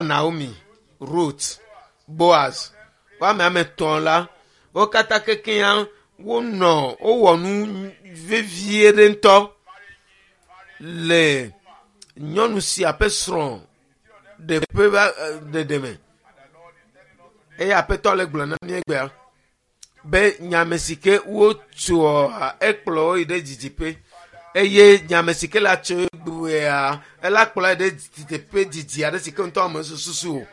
Naomi, Ruth, Boaz, woame 3 la, wo katã kekeŋ wonɔ wowɔ nu vevie ɖe ŋutɔ le nyɔnu sia ƒe srɔ̃ ɖeƒe va ɖeɖe me. Eye Aƒetɔ le gblɔ na mí egbea be nyame si ke wotsoa ekplɔ wo yi ɖe didiƒe eye nyame si ke la tso egbea ela kplɔ yi ɖe didiƒe didi aɖe si ke ŋutɔ ame susu o.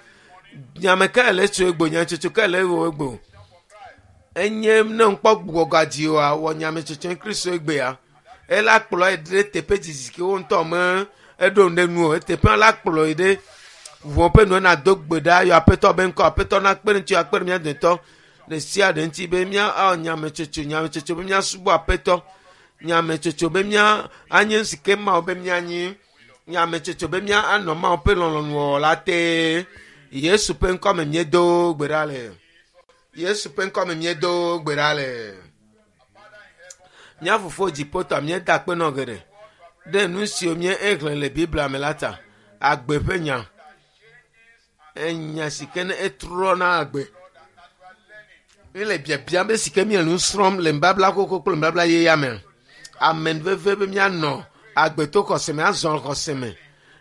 Nyame ka le tso egbo nyatsotso ka le wɔ egbo. Enye ne ŋkpɔ gbugbɔga dzi oa wɔ nyametsotso Kristo egbea. Ela kplɔ yi ɖe teƒe didi si ke wo ŋutɔ me eɖo nu ɖe nu o. Eteƒe la kplɔ yi ɖe ʋɔ ƒe nu ena do gbe ɖa yɔ Aƒetɔ be ŋkɔ. Aƒetɔ nakpe ɖe ŋuti akpe ɖe mía dometɔ ɖe sia ɖe ŋuti be mía awɔ nyametsotso nyametsotso be míasubɔ Aƒetɔ nyametsotso be mía anye nu si ke Mawu be míanyi nyametsotso be mía anɔ Mawu ƒe lɔlɔ̃nu wɔwɔ la te. Yesu ƒe ŋkɔ me míedo gbe ɖa le. Yesu ƒe ŋkɔ me míedo gbe ɖa le. Mía fofo dziƒotɔ míeda akpe nɔ geɖe ɖe nu siwo míexlẽ le Biblia me la ta. Agbe ƒe nya. Enya si ke ne etrɔna agbe. Míele biabiam be si ke míele nu srɔ̃m le nubabla xoxo kple nubabla yeyea me. Ame veve be míanɔ agbe to xɔse me, azɔ xɔse me.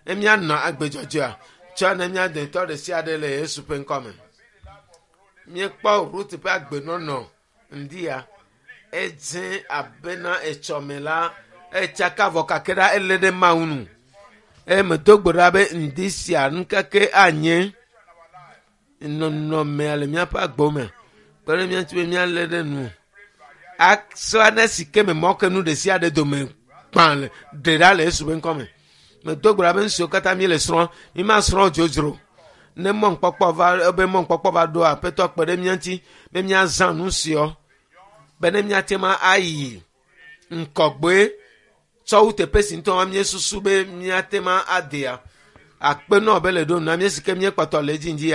Ne míanɔ agbe dzɔdzɔea, tsɔ ne mía dometɔ ɖe sia ɖe le Yesu ƒe ŋkɔ me. Míekpɔ Ruth ƒe agbenɔnɔ ŋdia. Edze abena etsɔme la, etsaka vɔ kake ɖa elé ɖe Mawu nu. Eye medo gbe ɖa be ŋdi sia nukeke anye nɔnɔmea le míaƒe agbewo me. Kpe ɖe mía ŋuti be míalé ɖe nu. Asɔ ne si ke me mɔ ke nu ɖe sia ɖe dome gbã le ɖe ɖa le Yesu ƒe ŋkɔ me. Medo gbe ɖa be nu siwo katã míele srɔ̃m, mímasrɔ̃ dzodzro. Ne mɔnukpɔkpɔ va ebe mɔnukpɔkpɔ va ɖo Aƒetɔ kpe ɖe mía ŋuti be míazã nu siawo be ne míate ŋu ayi ŋkɔgbe tsɔ wu teƒe si ŋutɔ míesusu be míate ŋu adea. Akpe nɔ be le ɖo nu na mí si ke míekpɔtɔ le edzi ŋdi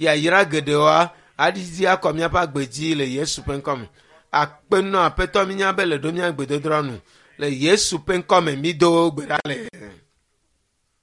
yayra geɖewoa aɖiɖi akɔ míaƒe agbe dzi le Yesu ƒe ŋkɔ me. Akpe nɔ Aƒetɔ mínya be le ɖo mía gbedodoɖa nu le Yesu ƒe ŋkɔ me mído gbe ɖa le.